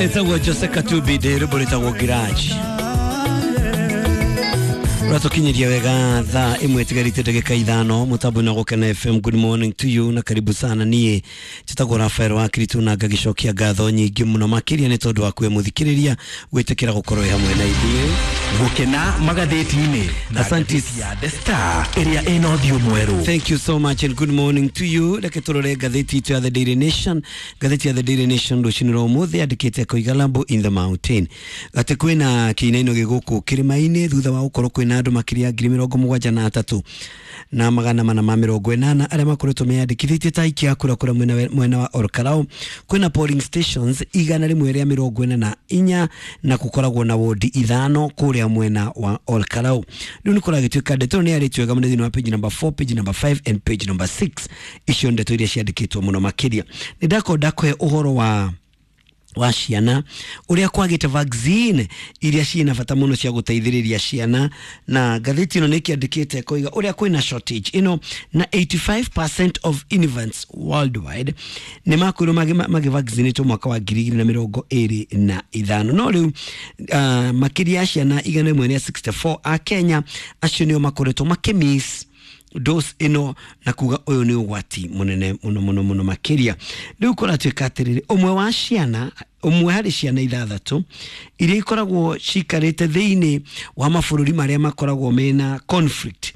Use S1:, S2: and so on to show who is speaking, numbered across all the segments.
S1: Etagwo Jose Katubi ndä rwä mbo rä tagwo Ngiraji ratukinyiria wega thaa imwe tigarite ndagika 5 mutambo-inĩ wa Gũkena FM. Good morning to you na karibu sana. Niĩ njĩtagwo Rafael wa Kiritu na ngagicokia ngatho nyingĩ mũno makĩria nĩ tondũ wa kwe mũthikĩrĩria gwĩtĩkĩra gũkorwo hamwe na ithuĩ
S2: Gũkena magathĩti-inĩ na
S1: Asante.
S2: ngathĩti ya The Star ĩrĩa ĩna ũthiũ mwerũ.
S1: Thank you so much and good morning to you. Reke turore ngathĩti itũ ya The Daily Nation. Ngathĩti ya The Daily Nation rũcinĩ rwa ũmũthĩ yandĩkĩte koiga Lambo in the mountain atĩ kwĩna kĩinaino gĩ gũkũ kĩrĩma-inĩ thutha wa gũkorwo kwĩna andũ makĩria 73,480 arĩa makoretwo meyandĩkithĩtie ta aikia a kura kũrĩa mwena wa Olkalau. Kwĩna polling stations 144 na gũkoragwo na wodi 5 kũrĩa mwena wa Olkalau. Rĩu nĩ kũragĩtuĩka ndeto ĩno nĩ yarĩtio wega mũno thĩinĩ wa page number 4, page number 5 and page number 6. Icio nĩ ndeto iria ciandĩkĩtwo mũno makĩria. Nĩ ndakorwo ndakũhe ũhoro wa ciana ũrĩa kwagĩte vaccine iria ciĩna bata mũno cia gũteithĩrĩria ciana, na ngathĩti ĩno nĩ ĩkĩandĩkĩte koiga ũrĩa kwĩna shortage ĩno na 85% of infants worldwide nĩ makwĩrwo magĩvaccinatwo mwaka wa 2025, no rĩu makĩria ya ciana 164 a Kenya acio nĩo makoretwo makĩmiss dose ĩno, na kuga ũyũ nĩ ũgwati mũnene mũno mũno mũno makĩria. Rĩu kũratuĩka atĩrĩrĩ, ũmwe wa ciana ũmwe harĩ ciana 6 iria ikoragwo cikarĩte thĩinĩ wa mabũrũri marĩa makoragwo mena conflict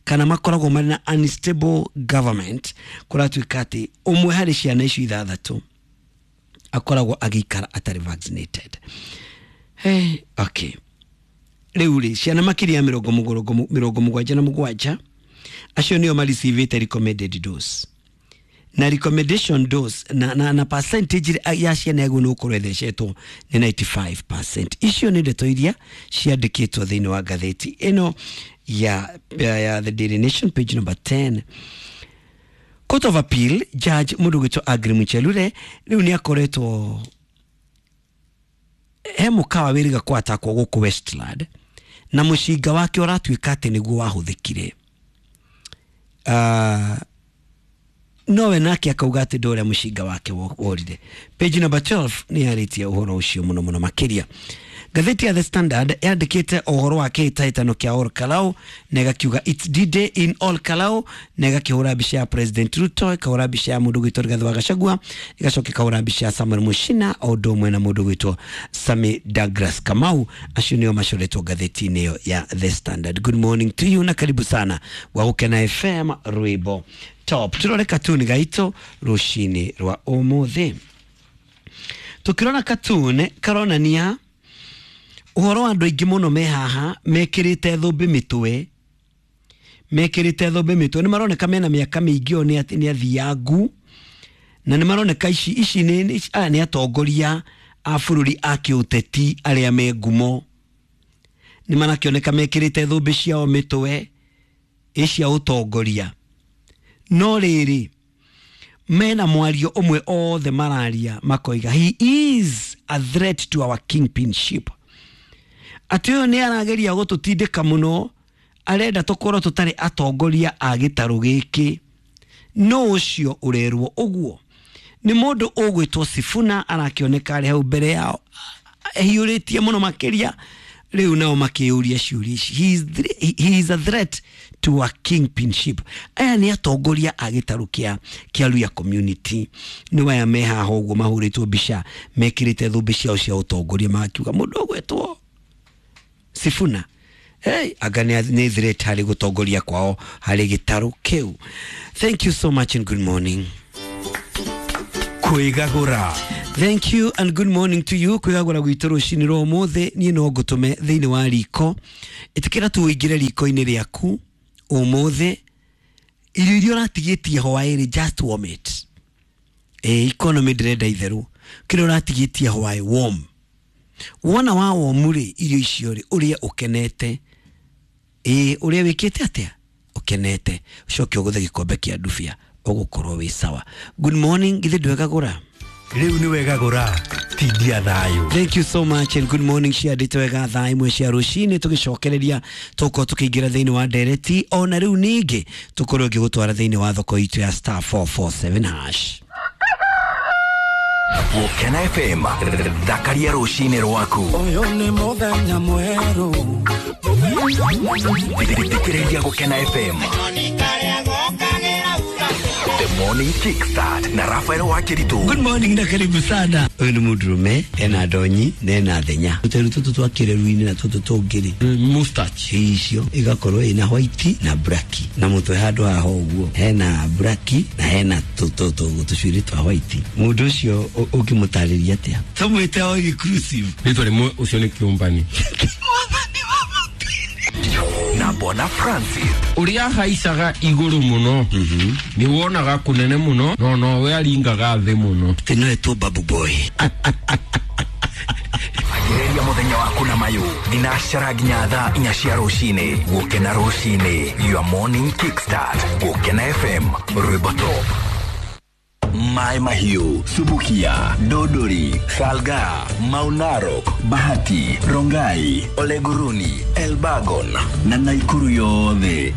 S1: kana makoragwo marĩ na unstable government, kũratuĩka atĩ ũmwe harĩ ciana icio 6 akoragwo agĩikara atarĩ vaccinated. Hey, okay. Rĩu rĩ, ciana makĩria ya 77 acio nĩo marecivĩte recommended dose na recommendation dose na percentage ya ciana yaguo nĩ gũkorwo ĩthecetwo nĩ 95%. Icio nĩ ndeto iria ciandĩkĩtwo thĩinĩ wa ngathĩti ĩno ya The Daily Nation page number 10. Court of Appeal judge mũndũ gwĩtwo Agri Muchelure rĩu nĩ akoretwo he mũkawa wĩrĩga kwatakwo gũkũ Westland na mũcinga wake ũratuĩka atĩ nĩguo wahũthĩkire. Nowe nake akauga atĩ ndũrĩa mũcinga wake worire. Page number 12 nĩ yarĩtie ũhoro ũcio mũno mũno makĩria. Ngathĩti ya The Standard yandĩkĩte ũhoro wa kĩhĩtahĩtano kĩa Olkalau na ĩgakiuga it's D-Day in Olkalau, na ĩgakĩhũra mbica ya President Ruto, ĩkahũra mbica ya mũndũ gwĩtwo Rigathĩ wa Gachagua, ĩgacoka ĩkahũra mbica ya Samuel Muchina o ũndũ ũmwe na mũndũ gwĩtwo Sami Douglas Kamau. Acio nĩo macoretwo ngathĩti-inĩ ĩyo ya The Standard. Good morning to you na karibu sana gwa Gũkena FM rwĩmbo top. Turore katuni gaitũ rũcinĩ rwa ũmũthĩ. Tukĩrora katuni karonania ũhoro wa andũ aingĩ mũno me haha mekĩrĩte thũmbĩ mĩtwe, mekĩrĩte thũmbĩ mĩtwe, nĩ maroneka mena mĩaka mĩingĩ o nĩ athiangu, na nĩ maroneka ici nĩ aya nĩ atongoria a bũrũri a kĩũteti arĩa me ngumo, nĩ marakĩoneka mekĩrĩte thũmbĩ ciao mĩtwe ĩ cia ũtongoria. No rĩrĩ, mena mwario ũmwe othe mararia makoiga he is a threat to our kingpinship, atĩ ũyũ nĩ arageria gũtũtindĩka mũno, arenda tũkorwo tũtarĩ atongoria a gĩtarũ gĩkĩ. No ũcio ũrerwo ũguo nĩ mũndũ ũgwĩtwo Sifuna, arakĩoneka arĩ hau mbere yao ehiũrĩtie mũno makĩria. Rĩu nao makĩyũria ciũria ici, he is a threat to our kingpinship. Aya nĩ atongoria a gĩtarũ kĩa Luhya community, nĩ aya me haha ũguo mahũrĩtwo mbica mekĩrĩte thũmbĩ ciao cia ũtongoria, magakiuga mũndũ ũgwĩtwo Sifuna, hey, anga nĩ threat harĩ gũtongoria kwao harĩ gĩtarũ kĩu. Thank you so much and good morning.
S2: Kwĩgagũra.
S1: Thank you and good morning to you. Kwĩgagũra gwitũ rũcinĩ rwa ũmũthĩ, niĩ no ngũtũme thĩinĩ wa riko. Ĩtĩkĩra tu ũingĩre riko-inĩ rĩaku ũmũthĩ, irio iria ũratigĩtie hwaĩ-rĩ, just warm it. Economy ndĩrenda itherũ, kĩrĩa ũratigĩtie hwaĩ warm. Wona wa warm rĩ, irio icio rĩ, ũrĩe ũkenete. Ũrĩa wĩkĩte atĩa? Ũkenete. Ũcoke ũgũthe gĩkombe kĩa ndubia, ũgũkorwo wĩ sawa. Good morning, githĩ ndwegagũra?
S2: Rĩu nĩ wegagũra, tindia thayũ.
S1: Thank you so much and good morning. Ciandĩte wega thaa 1 cia rũcinĩ, tũgĩcokereria tũkorwo tũkĩingĩra thĩinĩ wa ndereti ona rĩu ningĩ tũkorwo ngĩgũtwara thĩinĩ wa thoko itũ ya star 447 hash.
S2: Gũkena FM, thakaria rũcinĩ rwaku.
S3: Ũyũ nĩ mũthenya mwerũ.
S2: Thikĩrĩria Gũkena FM. The Morning Kickstart na Rafael Wakiritu.
S1: Good morning na karibu sana. Ũyũ nĩ mũndũrũme ena ndonyi na ena thenya. Tũteru tũtũ twa kĩreru-inĩ na tũtũ tũngĩ-rĩ,
S4: mustache
S1: icio igakorwo ina white na black, na mũtwe handũ haha ũguo hena black na hena tũcuĩrĩ twa white. Mũndũ ũcio ũngĩmũtarĩria atĩa? Tũmwĩte o inclusive.
S4: Rĩtwa rĩmwe ũcio nĩ kĩũmbani.
S2: Na Bona Francis.
S4: Ũrĩa ahaicaga igũrũ mũno nĩ wonaga kũnene mũno no nowe aringaga thĩ mũno.
S1: Atĩ no etwo Babu Boy.
S2: Ambĩrĩria mũthenya waku na mayũ thinacara nginya thaa 4 cia rũcinĩ. Gũkena rũcinĩ, your morning kickstart. Gũkena FM, rwĩmbo top. Maĩ Mahiũ, Subukia, Dodori, Salga, Maunarok, Bahati, Rongai, Oleguruni, Elbagon na Naikuru yothe.